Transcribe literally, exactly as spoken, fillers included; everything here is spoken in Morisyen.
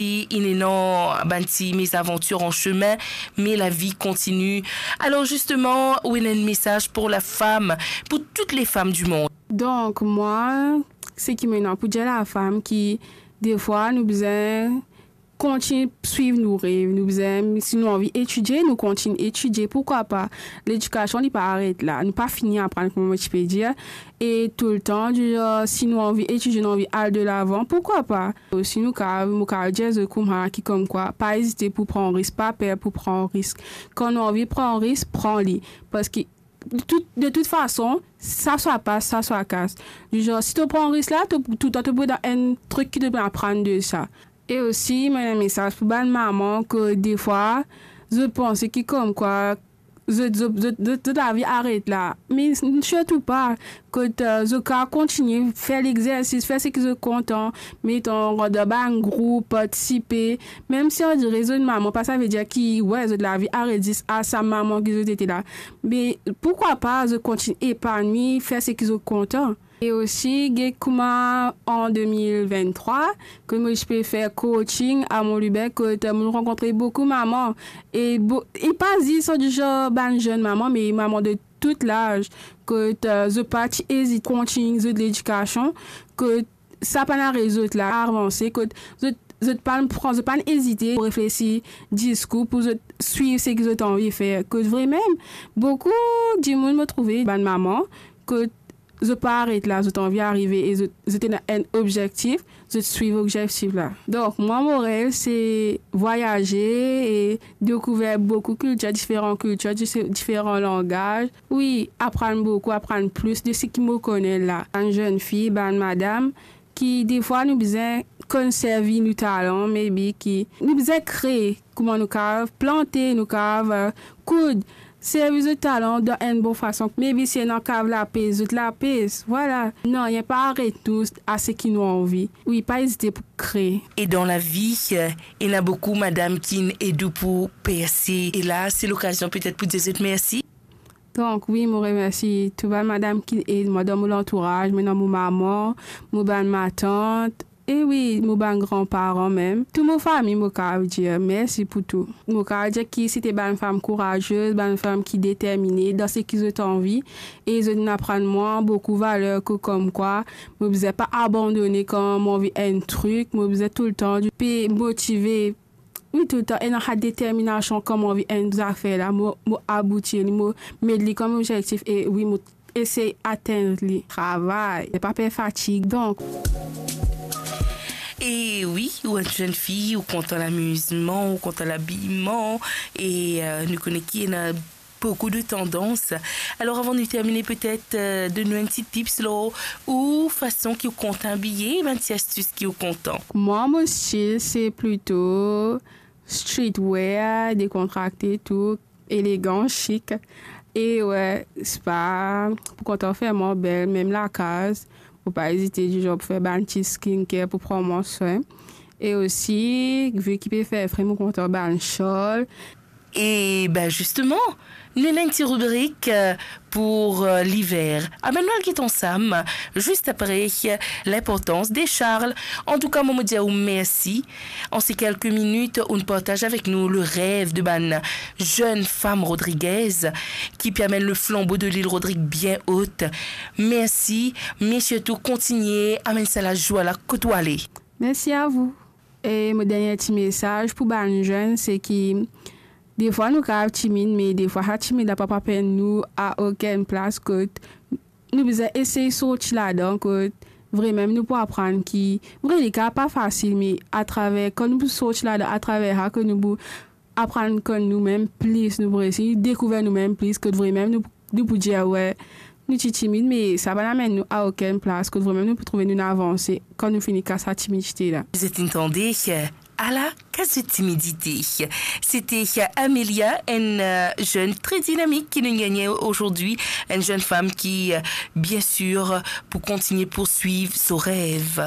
E inn ena bann ti mezavantir an semin, me lavi kontini. Alor zisteman, ou ena enn mesaz pou lafam, pou tout lefam dimond? Donk, mwa, seki mo ena pou dir lafam ki, defwa, nou bizin kontign swiv nou rev, nou bizin, si nou anvi etidie, nou kontign etidie, pourkwa pa? Ledikasion, li pa aret la, nou pa fini aprann, kouma mo ti pe dir, e toultan, dizan, si nou anvi etidie, nou anvi al delavan, pourkwa pa? Osi, nou kav, mo kav dir zot kouma ki, komkwa, pa ezite pou pran risk, pa per pou pran risk. Kan nou anvi pran risk, pran li, parski de tout, de tout fason, sa swa pas, sa swa kas. Dizan, si to pran risk la, to, toultan to pou dan enn trik ki to pou aprann de sa. E osi, mo ena enn mesaz pou bann mama ki, defwa, zot panse ki komkwa zot, zot, zot, zot, zot lavi aret la. Me sirtou pa, kot, eh, zot kav kontign fer lexersis, fer seki zot kontan, meton, rant dan bann group, partisipe. Mem si andire zot mama, pa savedir ki, wi, zot lavi aret zis a sa moman ki zot ete la. Me pourkwa pa zot kontign epanwi, fer seki zot kontan? E osi, get kouma an de mil venntrwa, kot mo ti pe fer coaching a Mont Lubin, kot mo rankontre boukou mama. E bo-, e pa zis dizan bann zenn mama, me mama de tou laz, kot, eh, zot pa ti ezit kontign zot ledikasion, kot sa pa'nn aret zot la avanse, kot zot, zot pa'nn pran, zot pa'nn ezite pou reflesi diskour, pou zot swiv seki zot anvi fer. Kot vremem, boukou dimoun mo trouve, bann mama, kot zot pa aret la, zot anvi arive e zot, zot ena enn obzektif, zot swiv obzektif la. Donk, mwa, mo rev se vwayaze e dekouver boukou kiltir, diferan kiltir, dif-, diferan langaz. Wi, aprann boukou, aprann plis de seki mo kone la. Bann zenn fi, bann madam, ki defwa nou bizin konn servi nou talan, maybe ki nou bizin kree, kouma nou kav plante, nou kav, eh, koud, servi zot talan dan enn bon fason. Maybe si ena kav lapes, zot lapes, vwala. Nanye pa aret nou a seki nou anvi. Wi, pa ezite pou kree. E dan lavi, eh, ena boukou madam ki'nn ed ou pou perse. E la, se lokazion petet pou dir zot mersi. Donk, wi, mo remersi tou bann madam ki ed mwa dan mo lantouraz, mo ena mo mama, mo bann matant, e wi, mo bann granparan mem. Tou mo fami, mo kav dir mersi pou tou. Mo kav dir ki se te bann fam kouraze, bann fam ki determine dan seki zot anvi, e zot inn aprann mwa boukou valer ki komkwa mo bizin pa abandone kan mo anvi enn trik, mo bizin toultan pe motive. Wi, toultan ena sa determinasion kan mo anvi enn zafer la, mo, mo aboutir li, mo met li kom obzektif e wi, mo esey atenn li. Travay, pa per fatig. Donk, e wi, ou enn zenn fi, ou kontan lamizman, ou kontan labiman, e, eh, nou kone ki ena boukou de tandans. Alor, avan nou termine, petet, eh, donn nou enn ti tips lor ou fason ki ou kontan abiye, bann ti astis ki ou kontan. Mwa, mo stil, se plito streetwear, dekontrakte, tou elegan, sik. E wi, spa, pou kontan fer mwa bel, mem lakaz, mo pa ezite dizan pou fer bann ti skincare pou pran mwa swin. E osi, vi ki pe fer fre, mo kontan bann shal. E ben, zisteman, nou ena enn ti ribrik, eh, pou, eh, liver. Abe, nou al get ansam, zis apre, eh, linportans de shal. Antouka, mwa, mo dir ou mersi. An se kelke minit, ou'nn partaz avek nou le rev de bann zenn fam Rodriguez ki pe amenn le flanbo de lil Rodrig bien ot. Mersi, me sirtou kontigne amenn sa lazwa la kot ou ale. Mersi a vou. E mo dernie ti mesaz pou bann zenn, se ki defwa nou kav timid, me defwa sa timid la pa pou amenn nou a okenn plas, kot nou bizin esey sorti ladan, kot vremem nou pou aprann ki, vre, li kav pa fasil, me atraver, kan nou pou sorti ladan, atraver sa, kot nou pou aprann konn noumem plis, nou pou resi dekouver noumem plis, kot vremem nou, nou pou dir, wi, nou ti timid, me sa pa pou amenn nou a okenn plas, kot vremem nou pou trouve nou avanse kan nou fini kas sa timidite la. Zot inn tande, ala kas zot timidite. Se te Amelia, enn, eh, zenn tre dinamik ki nou gagne azordi, enn zenn fam ki, eh, bien sir, pou kontigne pourswiv so rev.